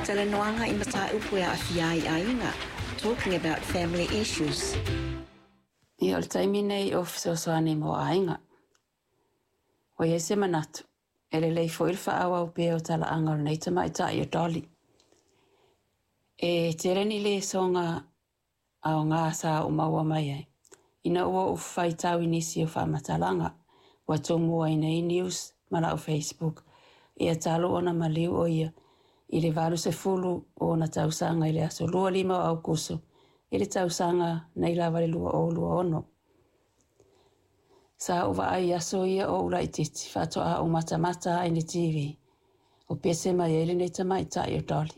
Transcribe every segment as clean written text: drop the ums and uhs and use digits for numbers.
Talanoaga i mataupu e aafia ai aiga. Talking about family issues. Ia, o le taimi nei o fesoasoani mo aiga. Ua i ai se manatu, e lelei foi le faaauau pea o talaaga o lenei tamaitai o Dolly. E tele ni lesoga aoga sa ou maua mai ai, ina ua ou faitau i nisi o faamatalaga ua tumuaina i news ma lau Facebook, ia talu ona maliu o ia i le 80 o ona tausaga i le aso 25 o Aukuso i le tausaga nei lava le 2026. Sa ou vaai i aso ia o ou laitiiti faatoa ou matamata ai i le TV o pese mai ai lenei tamaitai o Dolly.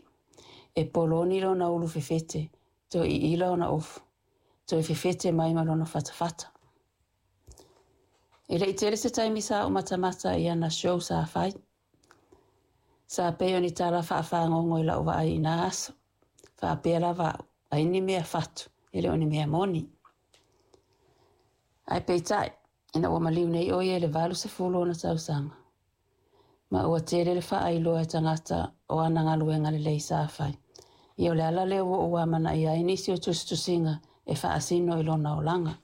E poloni lona ulu fefete, toe iila ona ofu, toe fefete mai ma lona fatafata. E le i tele se taimi sa ou matamata i ana show sa fai. Sa pei o ni tala faafagogo i lau vaai i na aso. Faapea lava au, ai ni mea fatu, e le o ni mea moni. Ae peitai, ina ua maliu nei o ia i le 80 ona tausaga, ma ua tele le faailoa e tagata o ana galuega lelei sa fai. Ia o le ala lea ua ou amanaia ai nisi o tusitusiga e faasino i lona olaga.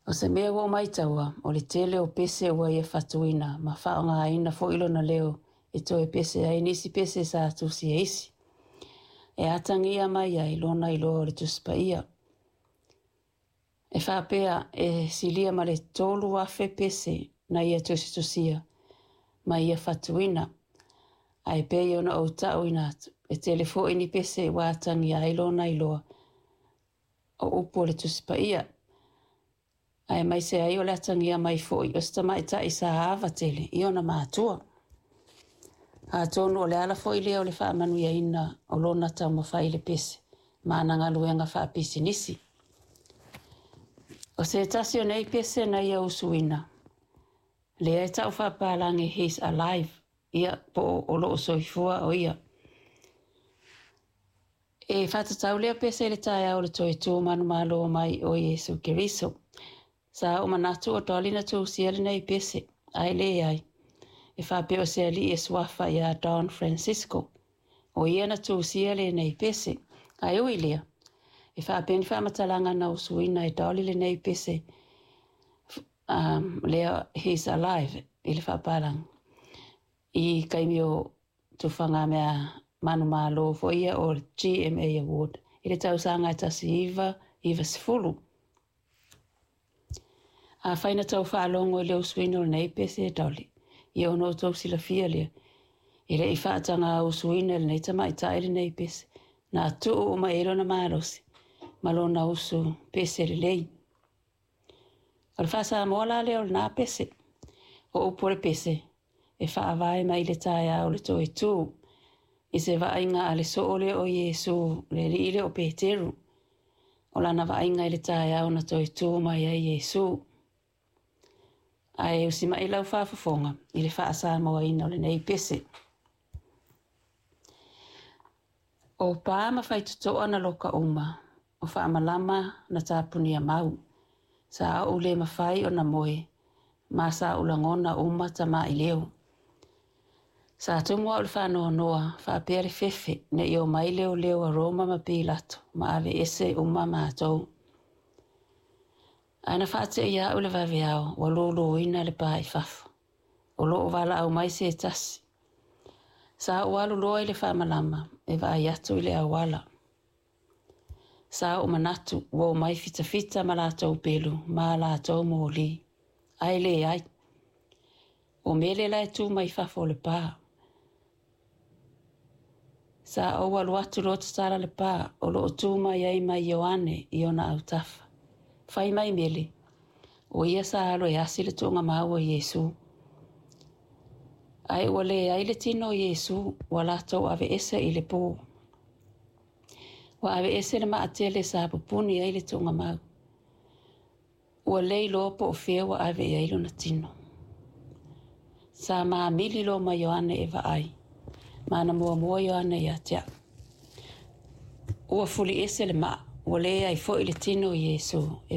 O se mea ua ou maitaua, o le tele o pese ua ia fatuina ma faaaogaina foi lona leo e toe pese ai nisi pese sa tusi e isi. E atagia mai ai lona iloa o le Tusi Paia. E faapea e silia ma le 3,000 pese na ia tusitusia ma ia fatuina. Ae pei ona ou tauina atu, e tele foi ni pese ua atagia ai lona iloa o upu o le Tusi Paia. Aemaise ai o le atagia mai foi o se tamaitai sa ava tele i ona matua. Atonu o le ala foi lea o le faamanuiaina o lona taumafai i le pese ma ana galuega faapisinisi. O se tasi o nei pese na ia usuina, lea e tau faapalagi "He's Alive", ia po o lo o soifua o ia. E faatatau lea pese i le taeao o le toe tu manumalo mai o Iesu Keriso. Sa ou manatu o Dolly na tusia lenei pese, ae leai. E faapea o se alii e suafa ia Don Francisco. O ia na tusia lenei pese. Ae ui lea, e faapea ni faamatalaga na usuina e Dolly lenei pese lea "He's Alive" i le faapalagi. I taimi o tufaga mea manumalo foi ia o GMA Award i le tausaga e 1990. Afai na tau faalogo i le usuina o lenei pese e Dolly, ia ona outou silafia lea, e le i faataga usuina e lenei tamaitai lenei pese, na tuu uma i ai lona malosi ma lona usu pese lelei. O le faasamoa la lea o lena pese. O upu o le pese, e faavae mai le taeao o le toe tu, i se vaaiga a le soo lea o Iesu, le alii lea o Peteru. O lana vaaiga i le taeao na toe tu mai ai Iesu. Ae usima'i lau faafofoga i le faasamoaina o lenei pese. O pa ma faitotoa na loka uma, o faamalama na tapunia mau. Sa ou le mafai ona moe, ma sa ou lagona uma tamaileo. Sa tumu au i le faanoanoa, faapea le fefe, ne i omai leoleo a Roma ma Pilato ma aveese uma matou. Ae na faateia au i le vaveao ua luluina le pa i fafo. O lo o valaau mai se tasi. Sa ou alu loa i le faamalama e vaai atu i le auala. Sa ou manatu ua omai fitafita ma latou pelu ma latou moli. Ae leai. O Mele la e tu mai fafo o le pa. Sa ou alu atu loa tatala le pa o lo o tu mai ai ma Ioane i ona autafa. Fai mai Mele, o ia sa alu e asi le tuugamau o Iesu. Ae ua leai le tino o Iesu, ua latou aveese i le po. Ua aveese le maatele sa pupuni ai le tuugamau. Ua le iloa po o fea ua ave i ai lona tino. Sa mamili loa ma Ioane e vaai, ma na muamua Ioane ia te au. Ua fuliese le maa, ua leai foi le tino o Iesu e